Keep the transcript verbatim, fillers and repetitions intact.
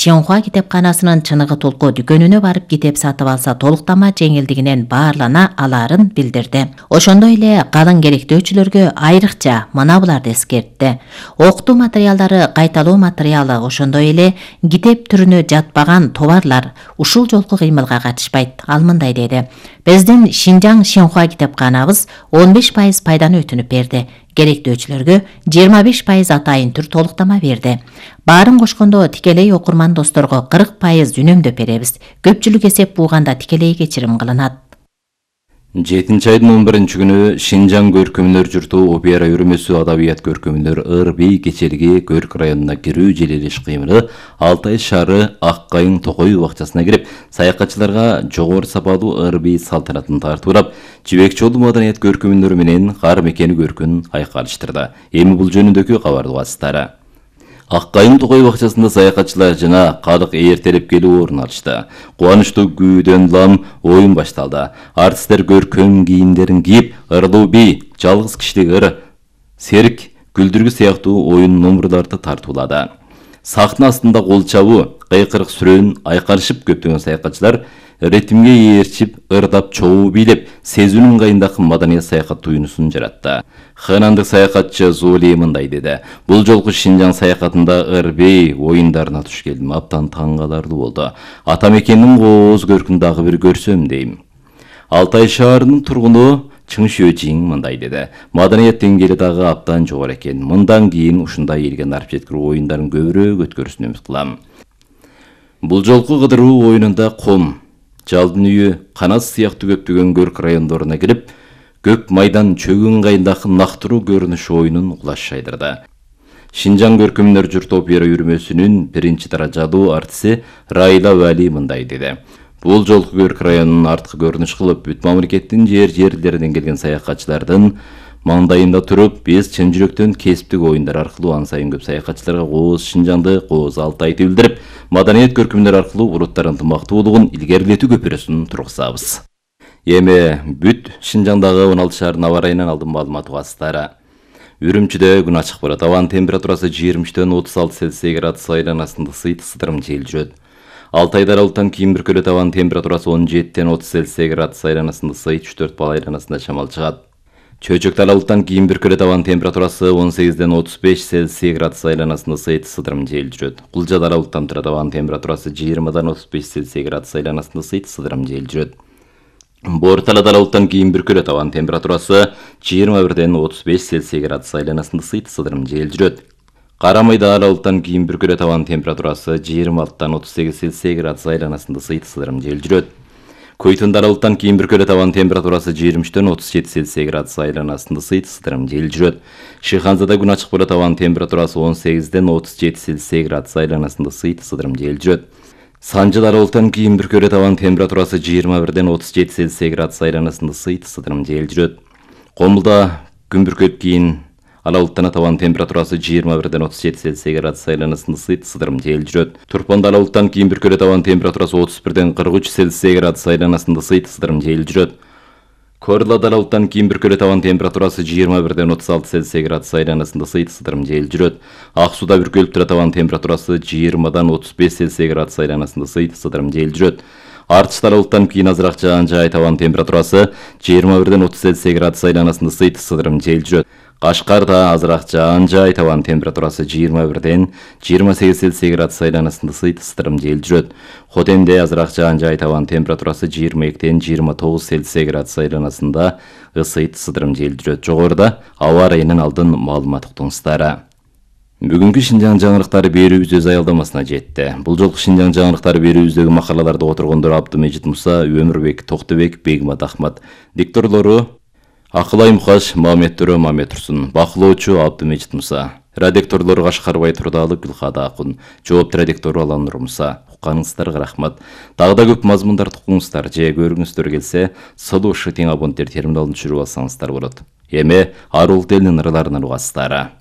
Синьхуа китепканасынын Чыныгы Толку дүкөнүнө барып китеп сатып алса толуктама жеңилдигинен баарлана алаарын билдирди. Ошондой эле калың керектөөчүлөргө айрыкча мына буларды эскертти. Окутуу материалдары кайталоо материалы, ошондой эле китеп түрүнө жатпаган товарлар ушул жолку кыймылга катышпайт. Ал мындай деди: Биздин Шинжаң Синьхуа китепканабыз он беш пайыз пайданы өтүнүп берди. Керектөөчүлөргө жыйырма беш пайыз атайын түр толуктама берди. Баарын кошкондо тикелей окурман досторго кырк пайыз үнөмдөп беребиз. Көпчүлүк эсеп бууганда тикелей кечирим кылынат. жетинчи айдын он биринчи күнү Шинжаң көркөмдөр журту опера үйрөмөсү адабият көркөмдөр Ырбей кечелиги Көрк районуна кирүү желелеш кыймылы Алтай шаары Аккайың Токой бакчасына кирип, саякатчыларга жогору сапалуу Ырбей салтанатын тартуулап, жибек жолу маданият көркөмдөр менен кар мекени көркүн айкалыштырды. Эми бул жөнүндөгү кабарды угасыздар. Аккайың Токой бакчасында саякатчылар жана калык ээртелеп келип орун алышты. Кубанычтуу күйдөн улам оюн башталды. Артисттер көркөм кийимдерин кийип, Ырдуу би, жалгыз киштик ыр, серик, күлдүргү сыяктуу оюн номурларды тартуулады. Сахна астында кол чабуу, кыйкырык сүрөөн айкалышып көптөгөн саякатчылар ритмге ээрчип, ырдап, чогуу бийлеп, сезүүнүн ыңгайындагы маданият саякат туюнусун жаратты. Ханандык саякатчы Зули мындай деди: Бул жолку Шинжаң саякатында Ырбей оюндарына туш келдим, абдан таң каларлуу болду. Ата мекендин кооз көркүн дагы бир көрсөм дейм. Алтай шаарынын тургуну Чың Шөөжиң мындай деди: Маданият деңгээли дагы абдан жогору экен. Мындан кийин ушундай элге нарып жеткирүү оюндарын көбүрөөк өткөрүүсүн үмүт кылам. Бул жолку кыдыруу оюнунда Ком, Жалдын үйү, Канас сыяктуу көптөгөн Көрк райондоруна кирип, Көк майдан чөгүн ыңгайындагы нактыруу көрүнүш оюнун кулаш шайдырды. Шинжаң көркөмдөр журту опера үйрөмөсүнүн биринчи даражалуу артиси Райла Вали мындай деди: Бул жолку Көрк районунун арткы көрүнүш кылып, бүт мамлекеттин жер-жерлеринен келген саякатчылардын маңдайында туруп, биз чын жүрөктөн кесиптик оюндар аркылуу ан сайын көп саякатчыларга кооз Шинжаңды, кооз Алтайды билдирип, маданият көркөмдөр аркылуу уруттардын ынтымактуулугун илгерилетүү көпүрөсүн тургузабыз. Эми бүт Шинжаңдагы он алты шаардын аба ырайынан алдын маалымат угасыздар. Үрүмчүдө күн ачык болот. Абанын температурасы жыйырма үчтөн отуз алты Цельсий градус айланасында сыйт сыдырым жел жүрөт. Алтайда аралыктан кийин бүркөлөт. Абанын температурасы он жетиден отуз Цельсий градус айланасында сыйт үч төрт балл айланасында шамал чыгат. Чөйчөктө аралыктан кийин бүркөлөт. Абанын температурасы он сегизден отуз беш Цельсий градус айланасында сыйт сыдырым жел жүрөт. Кулжада аралыктан турат. Абанын температурасы жыйырмадан отуз беш Цельсий градус айланасында сыйт сыдырым жел жүрөт. Борталада аралыктан кийин бүркөлөт. Абанын температурасы жыйырма бирден отуз беш Цельсий градус айланасында сыйт сыдырым жел жүрөт. Карамайда аралыктан кийин бүркөлөт. Абанын температурасы жыйырма алтыдан отуз сегиз Цельсий градус айланасында сыйт сыдырым жел жүрөт. Көйтүндө аралыктан кийин бүркөлөт. Абанын температурасы жыйырма үчтөн отуз жети Цельсий градус айланасында сыйт сыдырым жел жүрөт. Шыйханзада күн ачык болот. Абанын температурасы он сегизден отуз жети Цельсий градус айланасында сыйт сыдырым жел жүрөт. Санжыда аралыктан кийин бүркөлөт. Абанын температурасы жыйырма бирден отуз жети Цельсий градус айланасында сыйт сыдырым жел жүрөт. Комулда күн бүркөт кийин аралыктан абанын температурасы жыйырма бирден отуз жети Цельсий градус айланасында сыйт сыдырым жел жүрөт. Турпанда аралыктан кийин бүркөлөт. Абанын температурасы отуз бирден кырк үч Цельсий градус айланасында сыйт сыдырым жел жүрөт. Корлада аралыктан кийин бүркөлөт. Абанын температурасы жыйырма бирден отуз алты Цельсий градус айланасында сыйт сыдырым жел жүрөт. Ак сууда бүркөлүп турат. Абанын температурасы жыйырмадан отуз беш Цельсий градус айланасында сыйт сыдырым жел жүрөт. Артышта аралыктан кийин азыраак жаан жаайт. Абанын температурасы жыйырма бирден отуз Цельсий градус айланасында сыйт сыдырым жел жүрөт. Кашкарда азыраак жаан жаайт. Абанын температурасы жыйырма бирден жыйырма сегиз Цельсий градус айланасында сыйт сыдырым жел жүрөт. Хотенде азыраак жаан жаайт. Абанын температурасы жыйырма экиден жыйырма тогуз Цельсий градус айланасында ысыйт сыдырым жел жүрөт. Жогоруда аба ырайынан алдын маалымат уктуңуздар. Бүгүнкү Шинжаң жаңырыктары берүүбүз өз аялдамасына жетти. Бул жолку Шинжаң жаңырыктары берүүбүздөгү макалаларды которгондор Абдымежит Муса, Өмүрбек Токтобек, Бегмат Ахмат. Дикторлору Акылай Мухаш, Мамет Төрө, Мамет Турсун. Бакылоочу Абдымежит Муса. Редакторлору Кашкарбай Турдалы, Гүлхада Акун. Жоопту редактору Алан Нур Муса. Укканыңыздарга рахмат. Дагы да көп мазмундарды укуңуздар же көрүңүздөр келсе, Сылуу Шытың абоненттер терминалын түшүрүп алсаңыздар болот. Эми Арул Делдин ырларынан угасыздар.